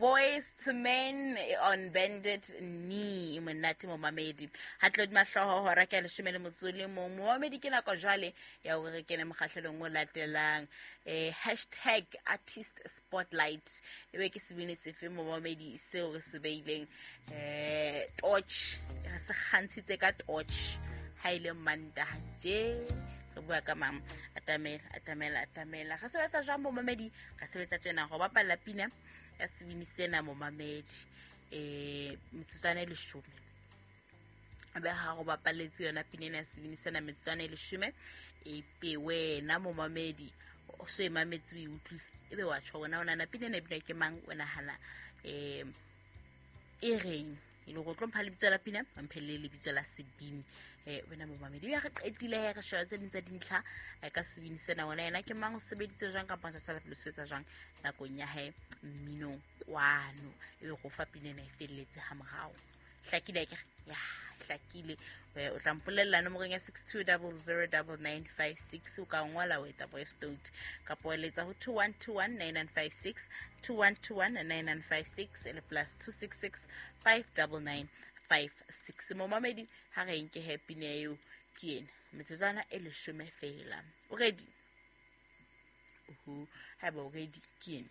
Boys to Men on Bended Knee. Monate momamedi. Ha tlo di mahloho hora ke leshome le motso le mong. Momamedi ke nako jwale ya hore re kene mokgahlelong o latelang. Hashtag artist spotlight. Ebe ke sebini sefe momamedi seo re se beileng torch. Re se kgantshitse ka torch. Ha ile Mantaha tje. Re bua ka mang? Atamela, atamela, atamela. Re sebetsa jwang momamedi? Re sebetsa tjena go bapalla pina ya sebini sena momamedi metsotswana e leshome. Be ha go bapaletse yona pina ena ya sebini sena metsotswana e leshome, e be wena momamedi o so e mametse, o e utlwile, ebe wa tjho wena o nahana pina ena e binwa ke mang, o nahana e reng, e le go tlo mpha lebitso la pina, wa mphe le lebitso la sebini. Wena momamedi ya re qetile he, re sheba tse ding tsa dintlha ka sebini sena, wena yena ke mang, o sebeditse jwang kapa o sa tswela pele o sebetsa jwang nakong ya hae mminong kwano, ebe go fa pina ena e felletse ha morao. Hlakile akere? Ya, hlakile. O tla mpolella nomorong ya 62009956, o ka ngola o etsa voice note kapa o letsa ho 21219956, 21219956 le plus 266 59956. Momamedi, ha re nke he pina eo ke ena metsotswana e leshome fela. O ready? Uhu, haeba o ready ke ena.